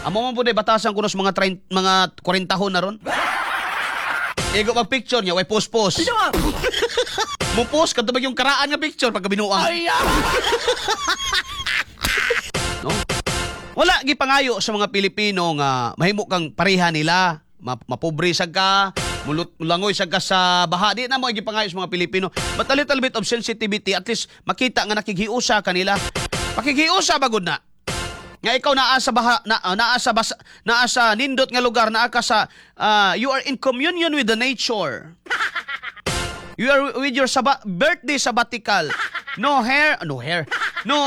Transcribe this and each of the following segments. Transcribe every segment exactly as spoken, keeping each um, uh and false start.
Amo man pud batasan kuno sa mga thirty, mga forty na ron. Igo mag picture niya, way post-post. Mo post kadto yung karaan nga picture pagka binuang. No? Wala gipangayo sa mga Pilipino nga mahimo kang pareha nila, mapobre sad ka, mulut mulangoy sad ka sa baha. Di na mo gipangayo sa mga Pilipino. But a little bit of sensitivity, at least makita nga nakighiusa kanila. Pakighiusa bagod na. Nga ikaw naa sa baha, na, naa sa basa, naa sa nindot nga lugar, naa ka sa uh, you are in communion with the nature. You are with your saba- birthday sabbatical. No hair, no hair. No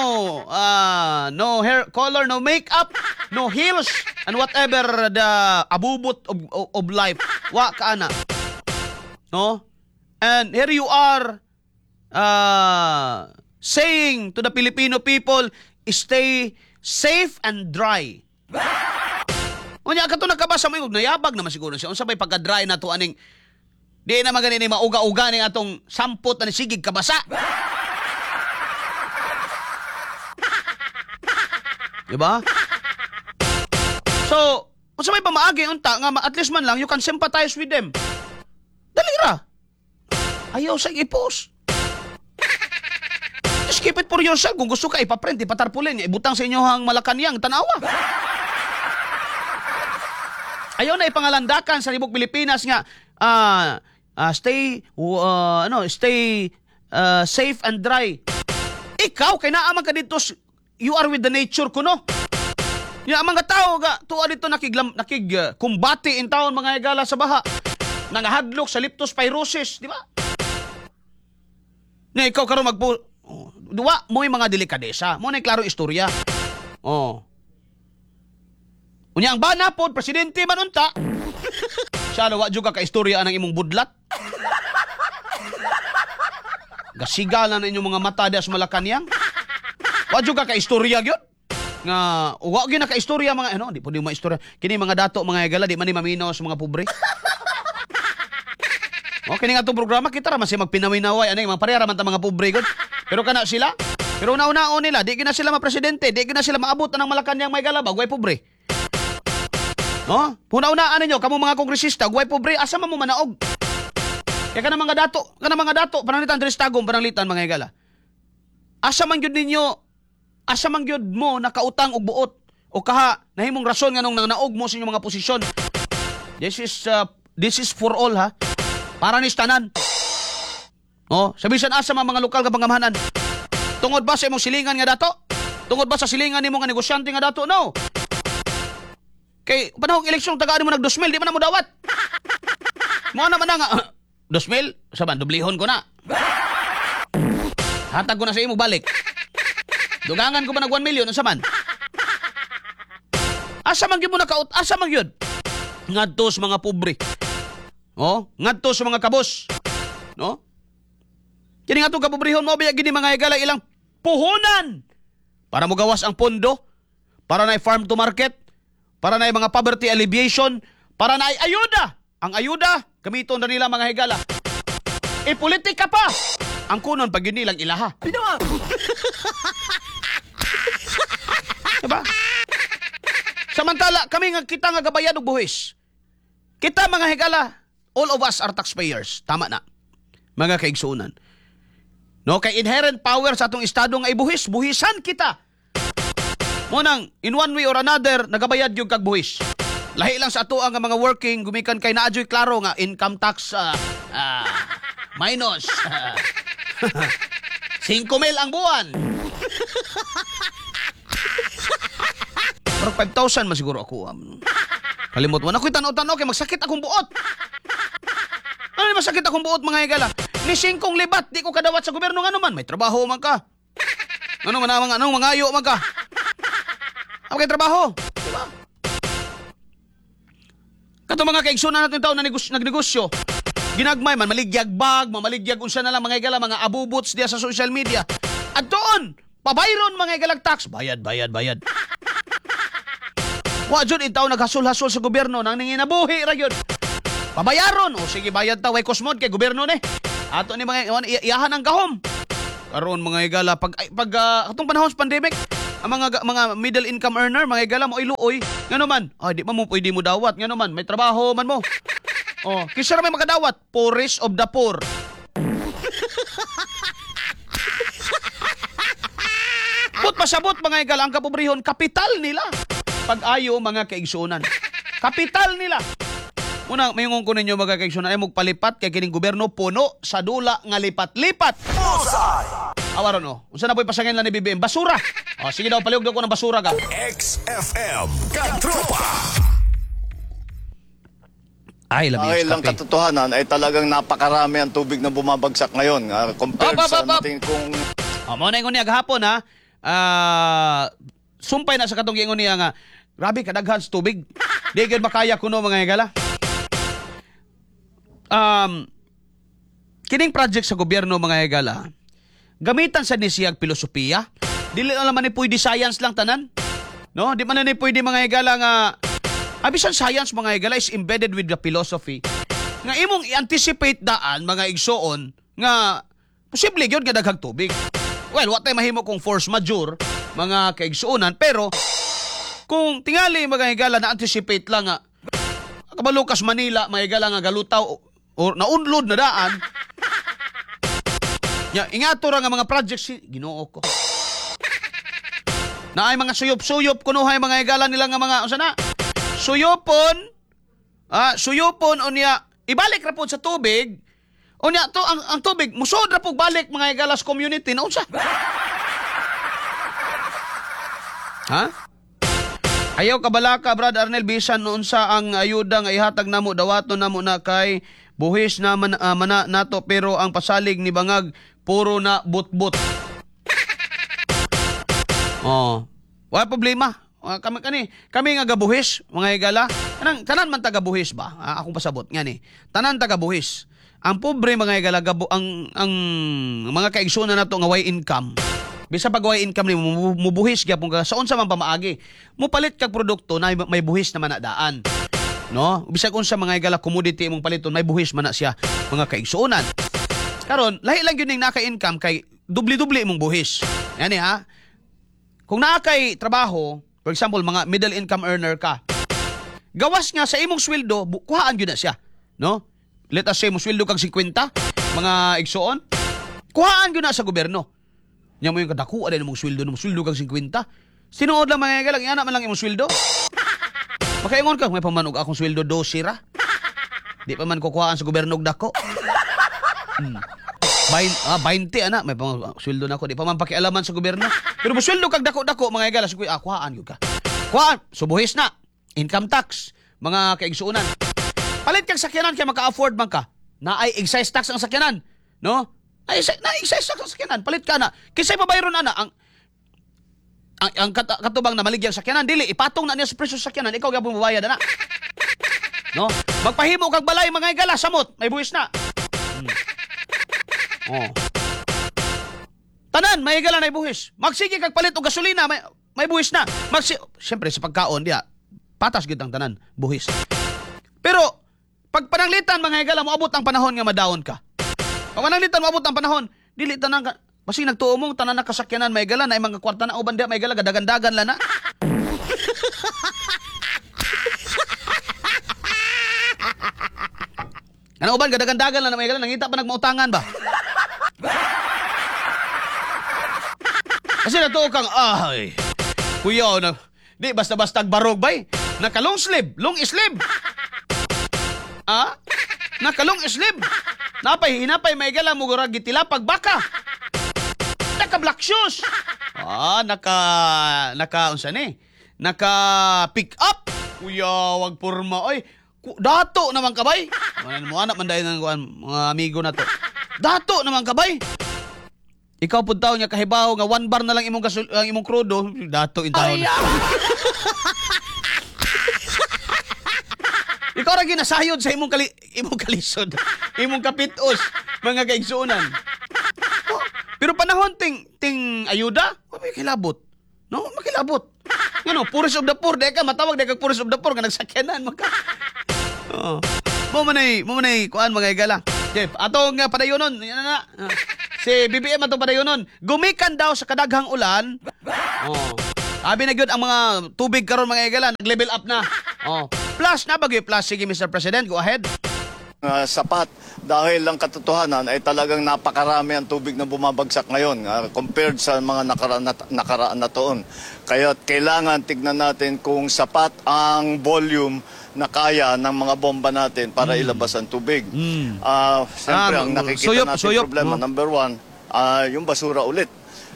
uh, no hair color, no makeup, no heels, and whatever the abubot of, of, of life. Wa ka ana. No? And here you are uh, saying to the Filipino people, "Stay safe and dry." Unya kato nakabasa mo, nayabag naman siguro siya. Unsa bay pagka-dry na to aning di na magani ni mauga-uga ning atong sampot ani sigig kabasa. Diba? So, unsa may pamaagi unta nga at least man lang you can sympathize with them. Dali ra. Ayaw sa i-post. Just keep it for yourself. Kung gusto ka, ipaprint, ipatarpulin, ibutang sa inyo ang Malacanang, tanawa. Ayaw na ipangalandakan sa libok Pilipinas nga uh, uh, stay uh, ano, stay uh, safe and dry. Ikaw kay naa man ka dito, you are with the nature kuno. Ya ang mga tao ga tuwa dito nakiglam nakig uh, kumbate in town mga higala sa baha. Nangahadlok sa leptospirosis, di ba? Nga ikaw karon magpo oh, duwa mo'y mga delikadesa. Mo na klaro istorya. Oh. Unya ang bana pod presidente man unta. Siya wa jud ka ka istorya ang imong budlat. Gasigal na inyong mga mata diha sa Malacanang. Wa jud ka ka istorya gyud. Nga wa gyud na ka istorya mga ano, di pud mo istorya. Kini mga dato mga higala di man ni maminaw sa mga pobre. O kini nga atong programa kita ra man siya magpinawinaway ani mga pareha ra man ta mga pobre gud. Pero kana sila, pero una-unaon nila, di gina sila mapresidente, di gina sila maabot ang Malacanang may galaba, way pobre. No? Una-unaan ninyo kamo mga kongresista, way pobre, asa man mo manaog? Kaya kana mga dato, kana mga dato, pananglitan diri sa Tagum, pananglitan mga higala. Asa man gyud ninyo, asa man gyud mo nakautang og buot o kaha nahimong rason nganong nangnaog mo sa inyong mga posisyon. This is uh, this is for all ha. Para ni tanan. Oh, sa bisan asa man mga lokal nga pangamahanan. Tungod ba sa imong silingan nga dato? Tungod ba sa silingan nimo nga negosyante nga dato? No. Kay panahong eleksyon tagaan mo nag two mil, di man na mo dawat. Mo na man na nga two mil, saban dublihon ko na. Hatag ko na sa imo balik. Dugangan ko ba nag one million unsa man? Asa man gyud mo nakaut, asa man gyud? Ngadto sa mga pobre. Oh, ngadto sa mga kabos. No? Kini nga atong kapobrehon mo biya gini mga higala ilang puhunan para mogawas ang pondo, para na farm to market, para na mga poverty alleviation, para na ayuda. Ang ayuda gamiton na nila mga higala. E politika pa. Ang kunon pag yun nilang ilaha. Diba? Samantala kami nga kita nga gabayad og buhis. Kita mga higala, all of us are taxpayers. Tama na. Mga kaigsuonan. No, kay inherent power sa atong estado nga ibuhis, buhisan kita. Mo nang in one way or another nagabayad gyud kag buhis. Lahi lang sa ato ang mga working gumikan kay naa joy klaro nga income tax uh, uh, minus uh, five mil ang buwan. Pero five thousand man siguro ako. Um, kalimot mo na ako'y tanaw-tanaw kay magsakit akong buot. Ano ni masakit akong buot mga higala? Ni singkong libat di ko kadawat sa gobyerno ngano man may trabaho man ka. Ano man ang anong mangayo man ka. Ako kay trabaho, di ba? Kato mga kaigsunan natin taon na negosyo, nagnegosyo. Ginagmay man maligyag bag, mamaligyag unsa na lang mga higala, mga abubots diya sa social media. At doon, pabayron mga higalag tax, bayad bayad bayad. Wa jud in taon naghasol-hasol sa gobyerno nang nanginabuhi ra gyud. Pabayaron o sige bayad ta way kosmod kay gobyerno ni. Ato ni mga iyahan ang gahom. Karon mga higala pag pag uh, atong panahon sa pandemic, Ang mga mga middle income earner, mga higala mo ay luoy. Ngano man? Ay, di man mo pwede mo dawat. Ngano man? May trabaho man mo. Oh, kinsa ra may makadawat? Poorest of the poor. Put pasabot mga higala, ang kapobrehon, kapital nila. Pag-ayo mga kaigsuonan. Kapital nila. Una, mayungon ko ninyo mga kaigsuonan ay magpalipat kay kining gobyerno puno sa dula nga lipat-lipat. Awaron o. Unsa na po'y pasangin lang ni B B M? Basura. O, sige daw, palihog daw ko ng basura ka. X F M Katropa. Ay, labi Dahil ang kape. katotohanan ay talagang napakarami ang tubig na bumabagsak ngayon. Uh, compared Op, op, sa op, op. natin kung... O, mao na ingon niya gahapon ha. Ah, sumpay na sa katong giingon niya nga, grabe kadaghan sa tubig. Di gyud makaya kuno mga higala. Um, kining project sa gobyerno mga higala, gamitan sa ni siyag filosofiya. Dili na naman ni pwede science lang tanan. No, di man na ni pwede mga higala nga abisan science mga higala is embedded with the philosophy. Nga imong i-anticipate daan mga igsoon nga posible gyud nga daghang tubig. Well, wa tay mahimo kung force majeure mga kaigsuonan, pero kung tingali mga higala na anticipate lang nga kabalukas Manila mga higala nga galutaw or naunlod na daan. Ya, ingato ra nga mga projects si Ginoo ko. Naay mga suyop-suyop kunuhay mga higala nila nga mga unsa na? Suyopon. Ah, suyopon unya ibalik ra pud sa tubig. Unya to ang, ang tubig musod ra pud balik mga higala sa community na unsa? Ha? Ayaw kabalaka Brad Arnel, bisan unsa ang ayuda nga ihatag namo dawaton namo na kay buhis na man, uh, mana nato, pero ang pasalig ni Bangag puro na butbut. Oh, wala problema. Kami kani, kami nga gabuhis mga higala. Kanang tanan man tagabuhis ba? Ah, akong pasabot ngani. Tanan tagabuhis. Ang pobre mga higala gabo ang ang mga kaigsuonan nato nga way income. Bisa pag way income ni mubuhis gyapon ka sa unsa man pamaagi. Mupalit kag produkto na may buhis naman na daan. No? Bisag unsa mga higala commodity imong paliton may buhis man na siya mga kaigsuonan. Karon, lahi lang gyud ning naka-income kay dubli-dubli imong buhis. Yani ha. Kung naa kay trabaho, for example, mga middle income earner ka, gawas nga sa imong sweldo, kuhaan gyud na siya, no? Let us say mo sweldo kag singkwenta, mga igsoon, kuhaan gyud na sa gobyerno. Nya mo yung kadakuha din imong sweldo, imong sweldo kag singkwenta. Sinuod lang mga galang, iana man lang imong sweldo. Makaingon ka, may pamanog akong sweldo dose ra. Di pa man kukuhaan sa gobyerno og dako. Hmm. Bain, ah, twenty ana, may pang sweldo na ako, di pa man pakialaman sa gobyerno. Pero mo sweldo kag dako-dako mga higala, ah, kuhaan gyud ka. Kuhaan, subuhis na. Income tax, mga kaigsuonan. Palit kag sakyanan kay maka-afford man ka. Naay excise tax ang sakyanan, no? Ay, na excise tax ang sakyanan, palit ka na. Kinsay pabayron ana ang ang, ang kat, katubang na maligyang sakyanan, dili ipatong na niya sa presyo sa sakyanan, ikaw gyapon mobayad ana. No? Magpahimo kag balay mga higala, samot, may buwis na. Hmm. Oh. Tanan, may higala na buhis. Magsige kag palit og gasolina, may may buhis na. Magsi siyempre sa pagkaon diha, patas gyud ang tanan, buhis. Pero pag pananglitan mga higala, moabot ang panahon nga madaon ka. Pag pananglitan moabot ang panahon, dili tanan ka basi nagtuo mong tanan na kasakyanan may higala na mga kwarta na uban diha may higala gadagandagan la na. Ano uban gadagandagan la na may higala nangita pa nagmautangan ba? Kasi natuo kang, ay, kuya, na, di basta-basta barog bay. Naka long sleeve, long sleeve. Ah? Naka long sleeve. Napay, hinapay, may gala mo gurag gitilapag baka. Naka black shoes. Ah, naka, naka, unsa ni? Naka pick up. Kuya, wag porma. Oy, dato naman kabay. Mo anak man dahil ng mga amigo na to. Dato naman kabay. Ikaw pud taon nga kahibaw nga one bar na lang imong gasul, ang imong krudo, dato in taon. Ikaw ra ginasayod sa imong kali, imong kalisod, imong kapitos, mga kaigsuonan. Oh, pero panahon ting ting ayuda, oh, may kilabot. No, makilabot. Ngano, poorest of the poor, di ka matawag di ka poorest of the poor nga nagsakyanan maka. Oh. Mo manay, mo manay kuan mga higala. Jeff, atong uh, padayonon, yan na na. Si B B M atong padayonon. Gumikan daw sa kadaghang ulan. Oh. Abi na gyud ang mga tubig karon, mga higala, nag-level up na. Oh. Plus na bagay plus. Sige, Mister President, go ahead. uh, sapat dahil ang katotohanan ay talagang napakarami ang tubig na bumabagsak ngayon uh, compared sa mga nakaraan na, nakaraan na taon. Kaya kailangan tignan natin kung sapat ang volume na kaya ng mga bomba natin para ilabas ang tubig. Ah, siyempre, Ah, ang nakikita suyop, natin suyop, problema, no? number one, ah, yung basura ulit.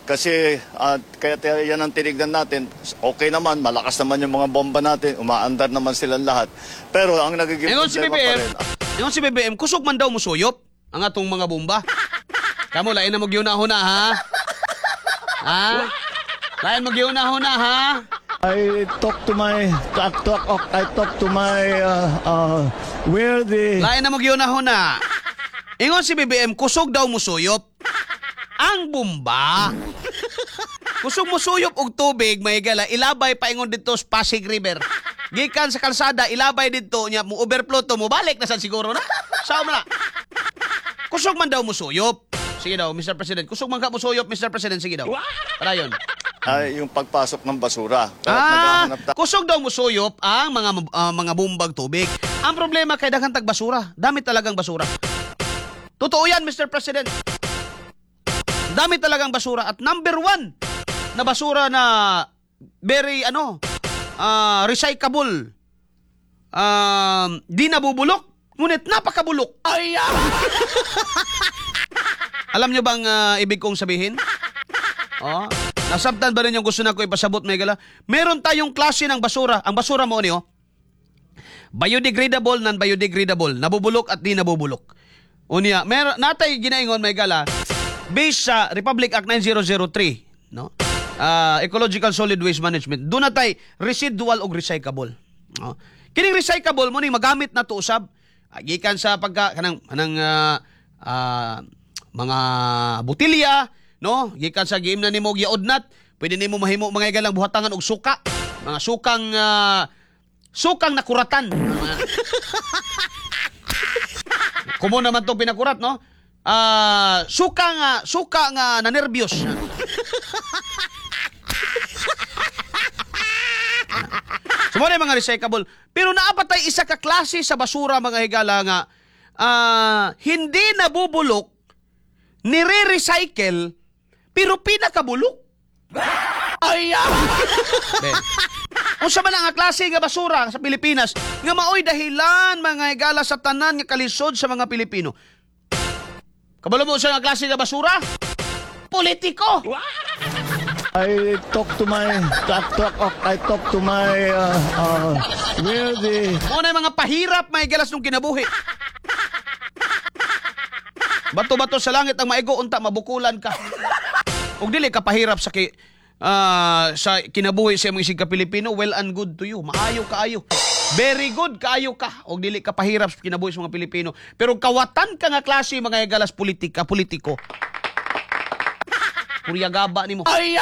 Kasi ah, kaya tayo- yan ang tinignan natin. Okay naman, malakas naman yung mga bomba natin, umaandar naman silang lahat. Pero ang nagiging Ingon si problema pa B B M, rin, ingon si B B M, kusog man daw musuyop ang atong mga bomba. Kamo, lain na mo huna, ha? Ha? Lain mo huna, ha? I talk to my talk talk I talk to my uh, uh, where the Lain na mo huna. Ingon si B B M, kusog daw musuyop ang bomba. Kusog musuyop og tubig, may gala, ilabay paingon dito sa Pasig River. Gikan sa kalsada, ilabay dito niya, mo overflow to, mo balik na sad siguro na. Sao man na? Kusog man daw musuyop. Sige daw, Mister President. Kusog man ka musuyop, Mister President. Sige daw. Padayon. Ay yung pagpasok ng basura. Kaya Ah, naghahanap tayo kusog daw musuyop ang mga ah, mga bumbag tubig. Ang problema kay daghan tag basura. Dami talagang basura. Totoo yan, Mister President. Dami talagang basura at number one na basura na very ano ah, recyclable. Um, di nabubulok, ngunit napakabulok. Ay! Alam nyo bang ah, ibig kong sabihin? Oh, nasabtan ba rin yung gusto na ko ipasabot, Megala? Meron tayong klase ng basura. Ang basura mo niyo, biodegradable, non-biodegradable, nabubulok at di nabubulok. Unya, meron natay ginaingon, Megala, based sa Republic Act nine zero zero three, no? Ah, Ecological Solid Waste Management. Doon natay residual og recyclable. No? Kining recyclable mo ning magamit na to usab. Ah, gikan sa pagka kanang kanang ah, ah, mga botilya, no? Gikan sa giim na nimo giudnat, pwede nimo mahimo, mga higalang, buhatangan og suka. Mga sukang ah, sukang nakuratan. Kumo naman to pinakurat, no? Ah, suka nga, suka nga na nervyos. So mo na yung mga recyclable. Pero naapatay isa ka klase sa basura, mga higala, nga ah, hindi nabubulok, nire-recycle, pero pinakabulok. Ay! Be. Unsa man ang klase nga basura sa Pilipinas nga maoy dahilan, mga higala, sa tanan nga kalisod sa mga Pilipino? Kabalo mo sa nga klase nga basura? Politiko! I talk to my talk talk I talk to my uh, uh, where the Mo na yung mga pahirap, mga higalas, nung kinabuhi. Bato-bato sa langit ang maigo, unta mabukulan ka. Ug dili ka pahirap sa ki, ah, sa kinabuhi sa imong isig ka Pilipino, well and good to you. Maayo kaayo. Very good kaayo ka. Og dili ka pahirap sa kinabuhi sa mga Pilipino. Pero kawatan ka nga klase, mga higalas, politika, politiko. Puryagaba nimo. Ay!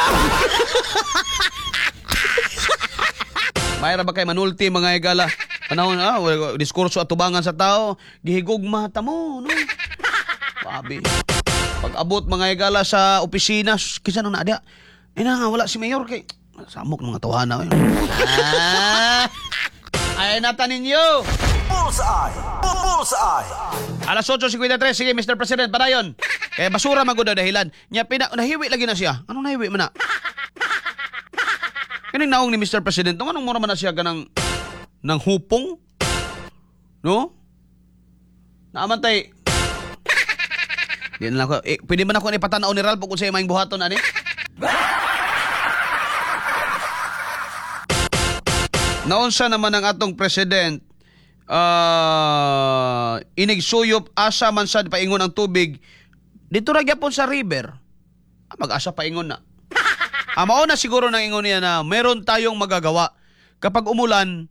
Mayra ba kay manulti, mga higala? Panahon ah, wala- diskurso atubangan sa tao, gihigugma ta mo, no? Babi. Pag abot, mga higala, sa opisina, kinsa nang naa? Eh na nga wala si mayor kay samok mga tawhana. Eh. Ah! Ay nata ninyo. Bullseye! Bullseye! Alas otso singkwenta y tres, sige, Mister President, padayon. Kaya basura man gud daw dahilan. Nya pina nahiwi lagi na siya. Anong nahiwi man na? Kining naong ni Mister President, anong mura man na siya ganang ng hupong? No? Naamantay. Di na lang ako. Eh, pwede man ako ni patanaw ni Ralph kung sa imong buhaton ani? Naunsa naman ang atong president uh, inigsuyop, asa man sad paingon ang tubig dito ra gyapon sa river. Ah, mag-asa paingon na. Ah, mao na siguro nang ingon niya na meron tayong magagawa. Kapag umulan,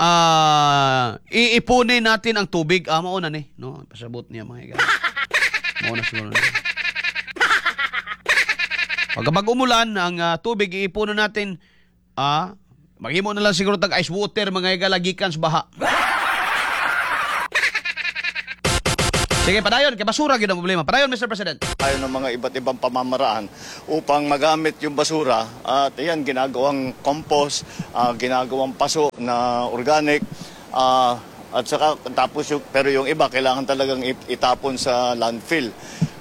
ah, iipunin natin ang tubig. Ah, mao na ni. No, pasabot niya, mga higa. Mao na siguro na. Pag kapag umulan, ang ah, tubig iipunin natin, ah, maghimo na lang siguro tag ice water, mga higala, gikan sa baha. Sige, padayon kay basura gyud ang problema. Padayon, Mister President. Tayo ng mga iba't ibang pamamaraan upang magamit yung basura at ayan, ginagawang compost, ah, ginagawang paso na organic, ah, at saka tapos yung, pero yung iba kailangan talagang it- itapon sa landfill.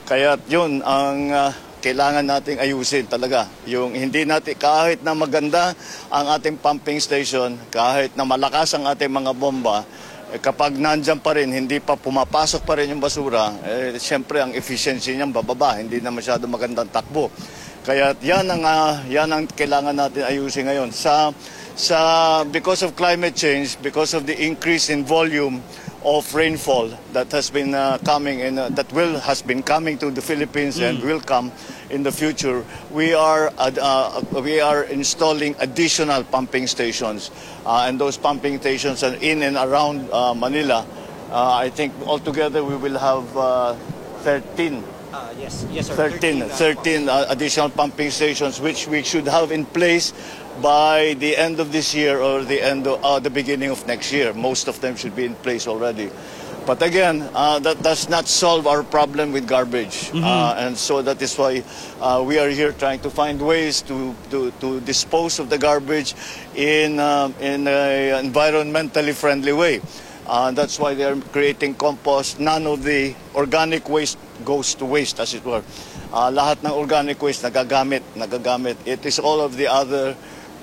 Kaya yun ang ah, kailangan nating ayusin talaga. Yung hindi natin, kahit na maganda ang ating pumping station, kahit na malakas ang ating mga bomba, eh, kapag nandyan pa rin, hindi pa pumapasok pa rin yung basura, eh, siyempre ang efficiency niyan bababa, hindi na masyado magandang takbo. Kaya yan ang, ah, yan ang kailangan natin ayusin ngayon. Sa, sa, because of climate change, because of the increase in volume of rainfall that has been uh, coming and uh, that will has been coming to the Philippines and will come in the future, we are uh, uh, we are installing additional pumping stations, uh, and those pumping stations are in and around uh, Manila. Uh, I think altogether we will have uh, thirteen Uh, yes, yes, sir. thirteen, uh, thirteen uh, additional pumping stations, which we should have in place by the end of this year or the end of, uh, the beginning of next year. Most of them should be in place already. But again, uh, that does not solve our problem with garbage. Uh, and so that is why uh, we are here trying to find ways to, to, to dispose of the garbage in, uh, in an environmentally friendly way. Uh, that's why they are creating compost. None of the organic waste goes to waste, as it were. Uh, lahat ng organic waste nagagamit, nagagamit. It is all of the other,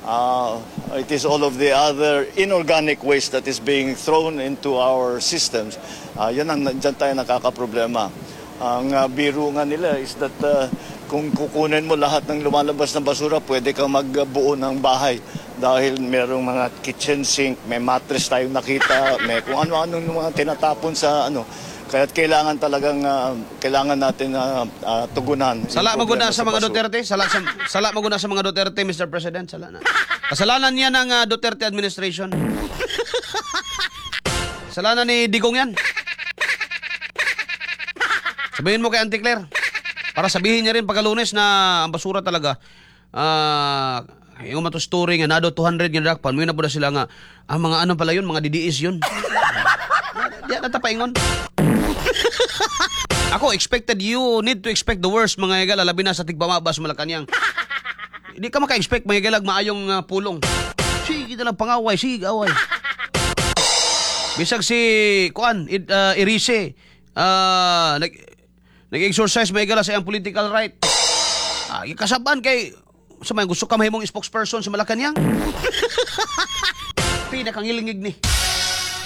uh, it is all of the other inorganic waste that is being thrown into our systems. Uh, yan ang dyan tayo nakakaproblema. Ang uh, biro nga nila is that uh, kung kukunin mo lahat ng lumalabas na basura, pwede kang magbuo ng bahay dahil merong mga kitchen sink, may mattress tayong nakita, may kung ano-ano mga tinatapon sa ano. Kaya't kailangan talagang uh, kailangan natin uh, uh, tugunan yung Sala problema maguna sa mga basura. Duterte, sala sa sala maguna sa mga Duterte, Mister President, sala na. Kasalanan niya ng ah, Duterte administration. Kasalanan ni Digong yan. Sabihin mo kay Auntie Claire. Para sabihin niya rin pagka Lunes na ang basura talaga. Ah, yung mato story nga nado two hundred nga dakpan, mo na po na sila nga ang mga ano pala yun, mga D D S yun. Di na tapaingon. Ako, expected, you need to expect the worst, mga higala, labi na sa tigpamaba sa Malacanang. Hindi ka maka-expect, mga higala, maayong uh, pulong. Sige na lang pangaway, sige away. Bisag si kuan id, uh, Erice uh, nag nag-exercise, mga higala, sa iyang political right. Ah, kasabaan kay sa may gusto ka mahimong spokesperson sa Malacanang. Pinakangilingig ni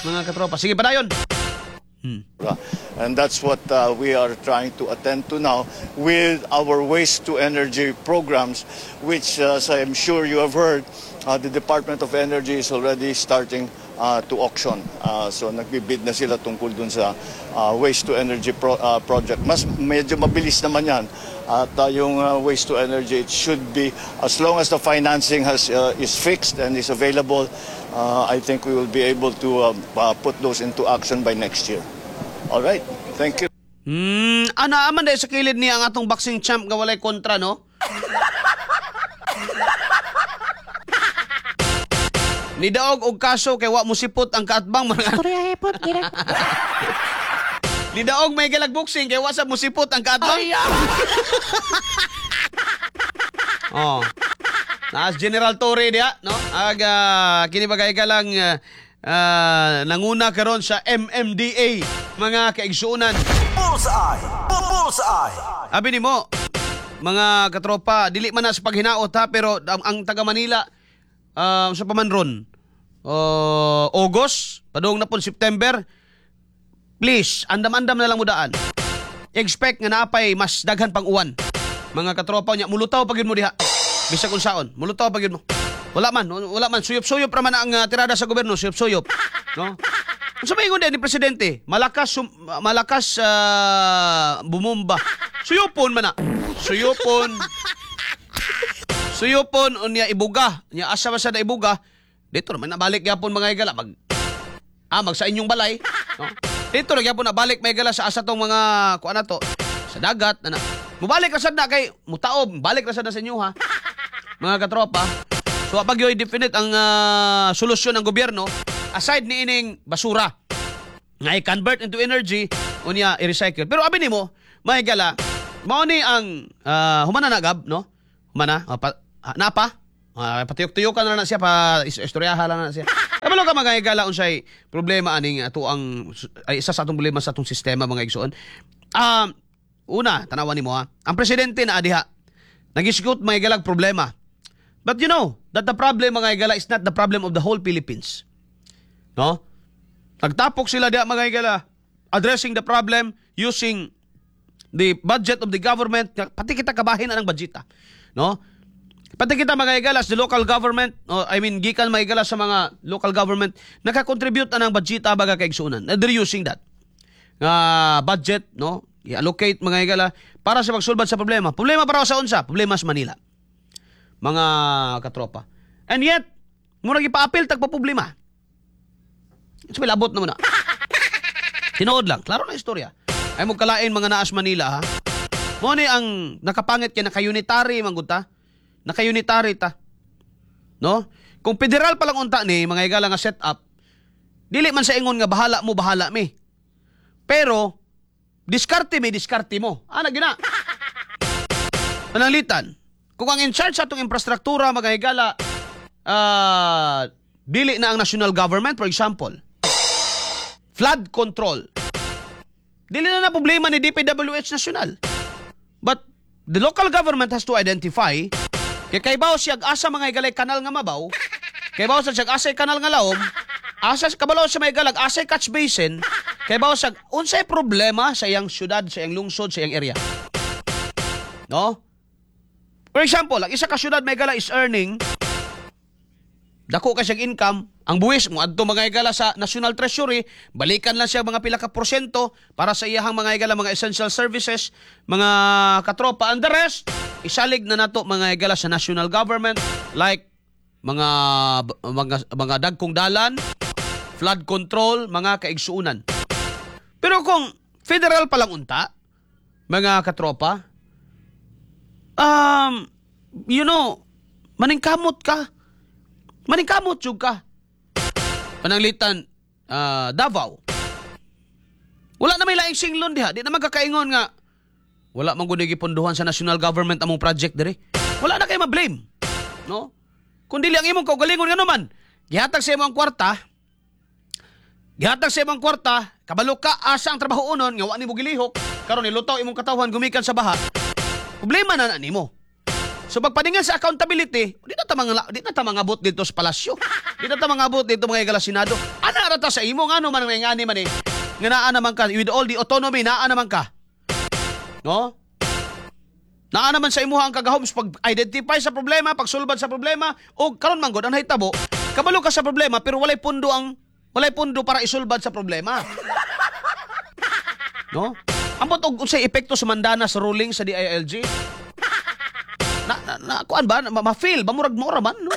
mga katropa. Sige, padayon. And that's what uh, we are trying to attend to now with our waste to energy programs, which, uh, as I'm sure you have heard, uh, the Department of Energy is already starting uh, to auction. Uh, so nagbibid na sila tungkol dun sa uh, waste to energy pro- uh, project. Mas medyo mabilis naman yan. At uh, yung uh, waste to energy, it should be, as long as the financing has, uh, is fixed and is available, uh, I think we will be able to um, uh, put those into action by next year. All right. Thank you. Hmm, ana aman dahil sa kilid niya ang atong boxing champ nga walay kontra, no? Nidaog og kaso kay wa mo sipot ang kaatbang mga. Nidaog may galag boxing kay wa sa mo sipot ang kaatbang. Oh. Naas General Torre diha, no? Aga kini bagay ka lang ah, ah, nanguna karon sa M M D A, mga kaigsuonan. Bullseye! Bullseye! Abi nimo, mga katropa, dili man na sa paghinaot ha, pero ang, ang taga Manila uh, sa paman ron, uh, August, padung na po September, please, andam-andam na lang mo daan. Expect nga naapay mas daghan pang uwan. Mga katropa niya, mulutaw pag yun mo diha. Bisag unsaon, mulutaw pag yun mo. Wala man, wala man, suyop-suyop ra man ang uh, tirada sa gobyerno, suyop-suyop. No? Unsa may ingon ni presidente? Malakas sum, malakas ah, bumumba. Suyopon man na. Suyopon. Suyopon unya ibuga. Nya asa ba sa na ibuga? Dito naman nabalik gyapon, mga higala, mag ah mag sa inyong balay. No? Dito na gyapon nabalik may higala sa asa tong mga kuan na to sa dagat na na. Mubalik ra sad na kay mutaob, balik ra sad na sa inyo ha. Mga katropa. So pag yoy definite ang ah, solusyon ng gobyerno aside ni ining basura nga i-convert into energy Unya i-recycle. Pero abi nimo, mga higala, mao ni ang uh, humana na gab, no? Humana, uh, pa, uh, napa? Uh, patuyok-tuyok na na siya pa is- istoryaha lang na siya. Kabalo ka, mga higala, unsay problema aning ato ang ay isa sa atong problema sa atong sistema, mga igsoon. Um, una, tanawan nimo ha. Ang presidente na diha nagisgot, mga higalag, problema. But you know that the problem, mga higala, is not the problem of the whole Philippines. No? Nagtapok sila diha, mga higala, addressing the problem using the budget of the government, pati kita kabahin na ng budget, no? Pati kita, mga higala, the local government, oh, I mean, gikan, mga higala, sa mga local government naka-contribute na ng budget, baga kaigsunan. They're using that nga budget, no? I-allocate, mga higala, para sa pagsulbad sa problema. Problema para sa unsa? Problema sa Manila, mga katropa. And yet, murag ipa-apil tag problema. So, labot na muna. Tinuod lang, klaro na istorya. Ay mo kalain mga naas Manila ha. Mo ni ang nakapangit kay naka-unitary man gud ta. Naka-unitary ta. No? Kung federal pa lang unta ni, mga higala, nga set up, dili man sa ingon nga bahala mo, bahala mi. Pero diskarte mi, diskarte mo. Ana gina. Pananglitan, kung ang in charge sa atong infrastruktura, mga higala, ah, dili na ang national government, for example, flood control. Dili na na problema ni D P W H national. But the local government has to identify kay kaybaw siya asa, mga higalay, kanal nga mabaw, kaybaw sa siya asay kanal nga laom, asa kabalo siya may galag asay catch basin, kaybaw sa unsay problema sa iyang syudad, sa iyang lungsod, sa iyang area. No? For example, ang isa ka syudad, may gala, is earning dako ka siyang income, ang buwis mo adto, mga higala, sa National Treasury, balikan lang siya mga pila ka porsyento para sa iyahang, mga higala, mga essential services, mga katropa, and the rest isalig na nato, mga higala, sa national government like mga mga mga dagkong dalan, flood control, mga kaigsuunan. Pero kung federal pa lang unta, mga katropa, um, you know, maningkamot ka. Maningkamot jud ka. Pananglitan, ah, Davao. Wala na may laing singlon diha. Di na magkakaingon nga wala man gud gipondohan sa national government among project diri. Wala na kay ma-blame. No? Kung dili ang imong kaugalingon nga naman, gihatag sa imong kwarta, gihatag sa imong kwarta, kabalo ka asa ang trabaho unon nga wa nimo gilihok, karon nilutaw imong katawhan gumikan sa baha. Problema na na nimo. So pagpadingan sa accountability, di na ta mga di na ta mangabot dito sa palasyo. Di na ta mangabot dito, mga higala, Senado. Ana ra ta sa imo, ngano man nga ngani man eh. Nga naa naman ka with all the autonomy, naa naman ka. No? Naa naman sa imuha ang kagahom sa pag-identify sa problema, pagsulbad sa problema, o karon man gud ang nahitabo, kabalo ka sa problema pero walay pundo ang walay pundo para isulbad sa problema. No? Ambot og unsay epekto sa Mandanas ruling sa D I L G? Na, na, na kuan ba, ma, ma-feel ba murag mura man, no?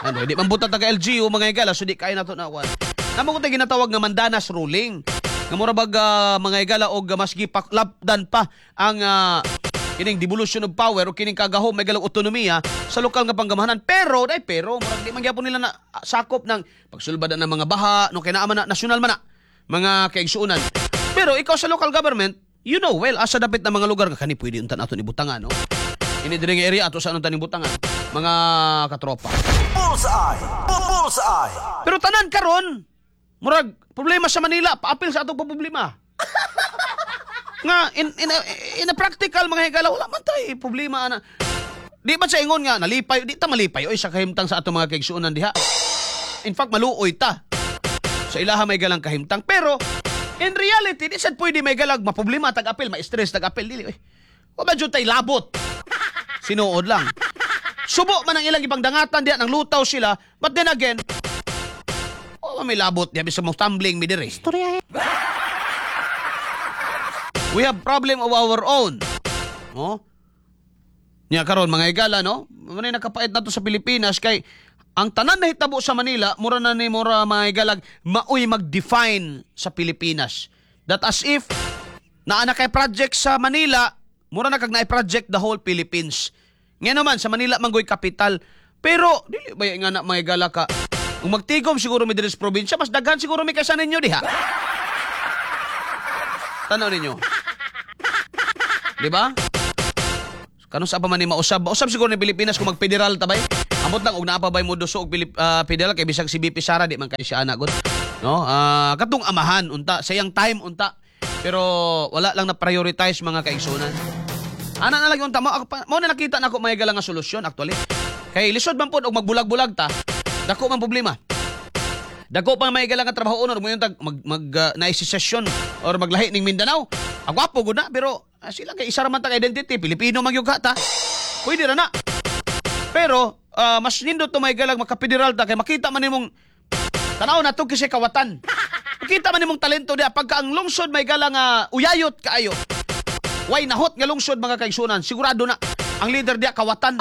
Ano, di man buta taga L G U, mga higala, so di kaya nato na kuan. Namo ko ginatawag nga Mandanas ruling. Nga mura bag ah, mga higala, og mas gipaklapdan pa ang ah, kining devolution of power o kining kagahom may galang otonomiya sa lokal nga panggamahanan. Pero dai pero murag di man gyapon nila na ah, sakop ng pagsulbad na ng mga baha, no, kay naa man na national man na, mga kaigsuonan. Pero ikaw sa local government, you know well asa dapit na mga lugar nga kani pwede unta nato ibutangan, no? Ini diri nga area ato sa anong taning butangan, mga katropa. Bullseye! Bullseye! Pero tanan karon, murag problema sa Manila, paapil sa atong problema. Nga in in a, in a practical, mga higala, wala man tay problema ana. Di ba sa ingon nga nalipay, di ta malipay oy sa kahimtang sa atong mga kaigsuonan diha. In fact, maluoy ta sa ilaha may galang kahimtang. Pero in reality, di sad pwede may galag maproblema tag-apil, ma-stress tag-apil dili oy. Wa ba jud tay labot? Sinuod lang. Subo man ang ilang ipangdangatan diha nang lutaw sila, but then again, oh, may labot diha bisa mo tumbling mi diri. Istorya. We have problem of our own. No? Nya karon, mga higala, no? Muna nakapait na to sa Pilipinas kay ang tanan na hitabo sa Manila, mura na ni mura, mga higalag, maoy mag-define sa Pilipinas. That as if naa na kay project sa Manila, mura na kag naay project the whole Philippines. Nga naman sa Manila manggoy kapital. Pero dili ba nga na, mga higala, ka kung magtigom siguro mi diri sa probinsya, mas daghan siguro mi kaysa ninyo diha. Tanaw ninyo. Di ba? Kanus-a pa man ni mausab? Mausab siguro ni Pilipinas kung mag-federal ta bay. Amot lang og naa pa bay mo duso og Pilip, ah, federal kay bisag si V P Sara di man kay siya ana gud. No? Ah, katong amahan unta sa iyang time unta. Pero wala lang na prioritize, mga kaigsunan. Ana na lang unta mo ako pa- mao na nakita nako may nga solusyon actually. Kay lisod man pod og magbulag-bulag ta. Dako man problema. Dako pa may nga trabaho or mo yung tag mag mag uh, session or maglahi ning Mindanao. Ang gwapo gud na, pero ah, sila kay isa ra man ta ka identity, Pilipino man gyud ka ta. Pwede ra na. Pero ah, mas nindot to may galag maka-federal ta kay makita man nimong tanaw na to kasi kawatan. Makita man nimong talento diya pagka ang lungsod may gala nga uyayot kaayo. Way nahot nga lungsod, mga kaigsunan, sigurado na ang leader diya kawatan.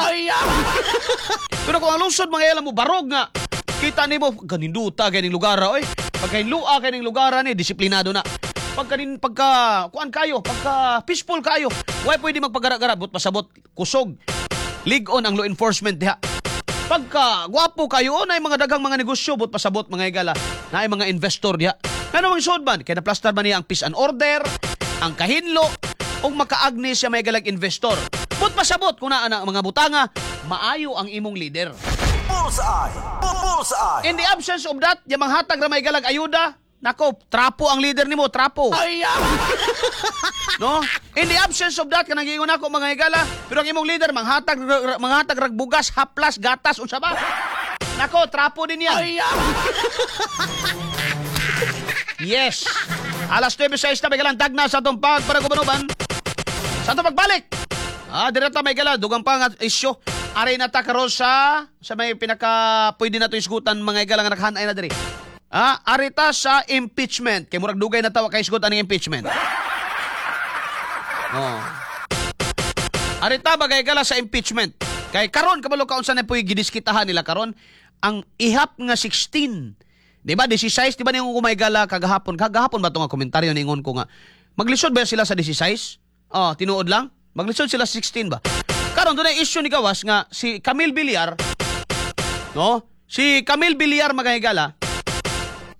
Pero kung ang lungsod mga mo barog nga kita nimo ganinduta ganing lugar oy. Pagka hinlua kaning lugar ni disiplinado na. Pagka nin pagka kuan kayo, pagka peaceful kayo, way pwede magpagara-gara but pasabot kusog. Lig-on ang law enforcement diha. Pagka gwapo kayo oh, na mga daghang mga negosyo but pasabot mga higala, na mga investor diha. Ngano mang sud man kay na-plaster man niya ang peace and order, ang kahinlo ug makaagni siya may galag investor. But pasabot kung naa na ang mga butanga, maayo ang imong leader. Bullseye! Bullseye! In the absence of that, yung manghatag ra may galag ayuda, nako, trapo ang leader nimo, trapo. No? In the absence of that, kanang giingon ako mga higala, pero ang imong leader manghatag manghatag rag bugas, haplas, gatas, unsa ba? Nako, trapo din yan. Yes. Alas nuwebe sais na may galang tagna sa atong pagpanagubanuban. Sa atong pagbalik. Ah, direta may gala, dugang pa nga isyu. Aray na ta karon sa sa may pinaka pwede na to isgutan mga higala nga naghanay na diri. Ah, arita sa impeachment. Kay murag dugay na tawa kay isgutan ng impeachment. Oh. Arita bagay gala sa impeachment. Kay karon kabalo ka unsa na po'y gidiskitahan nila karon ang ihap nga sixteen. Di ba? sixteen, di ba ningon ko may gala kagahapon? Kagahapon ba ito nga komentaryo ningon ko nga maglisod ba sila sa sixteen? Oh, tinuod lang. Maglisod sila sa sixteen ba? Karon doon ay issue ni gawas nga si Camille Villar, no? Si Camille Villar mga higala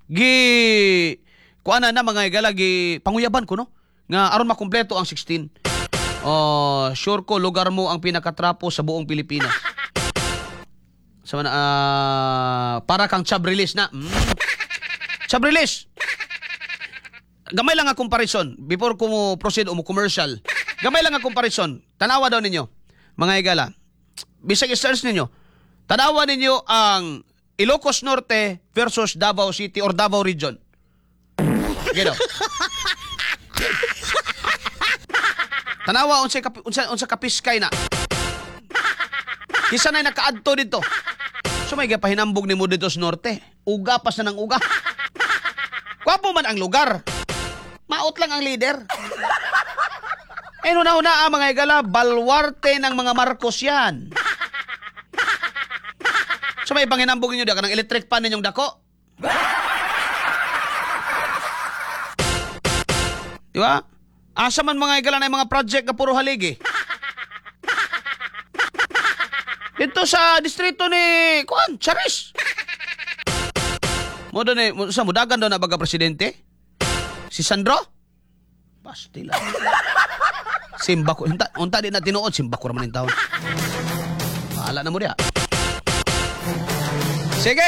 gi kuana na mga higala, gi panguyaban ko no nga aron makumpleto ang sixteen. Oh, sure ko lugar mo ang pinakatrapo sa buong Pilipinas. Sa mana ah, para kang Chabrilis na. Mm. Chabrilis. Gamay lang ang comparison before ko mo proceed o mo commercial. Gamay lang ang comparison. Tanawa daw ninyo, mga higala. Bisag i-search ninyo. Tanawa ninyo ang Ilocos Norte versus Davao City or Davao Region. Sige daw. Tanawa unsa kapi, unsa unsa kapiskay na. Kisa na nakaadto dito. So may gapahinambog nimo dito sa norte. Uga pa sa nang uga. Gwapo man ang lugar. Maot lang ang leader. Eh una-una ang mga higala, balwarte ng mga Marcos yan. So may panginambog ninyo da kanang electric pan ninyong dako. Di ba? Asa man mga higala na yung mga project na puro haligi? Dito sa distrito ni Kuan, Charis. Mo doon eh, mo- sa mudagan daw na baga presidente? Si Sandro? Bastila. Simba ko. Unta, unta di na tinuod, simba ko raman yung taon. Bahala na mo diha. Sige,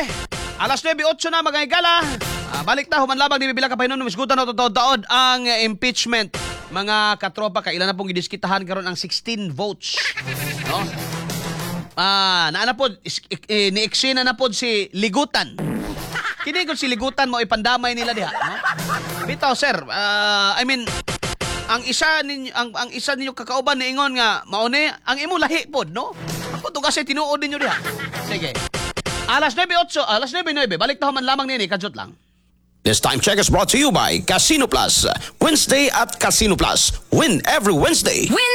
alas nuwebe otso na mga higala. Ah, balik ta, human labang di bibila ka pahinon, misgutan na totoo taod ang eh, impeachment. Mga katropa, kailan na pong gidiskitahan karon ang sixteen votes. No? Ah, naana pod is- eh, ni-eksena na pod si Ligutan. Kini gud si Ligutan mo ipandamay nila diha, no? Bitaw sir, ah, I mean ang isa ninyo ang, ang isa ninyo kakauban niingon nga maone ang imo lahi pod, no? Ako to kasi tinuod ninyo diha. Sige. Alas nuwebe otso, alas nuwebe nuwebe, balik ta human lamang nini, kadyot lang. This time check is brought to you by Casino Plus. Wednesday at Casino Plus. Win every Wednesday. Wednesday.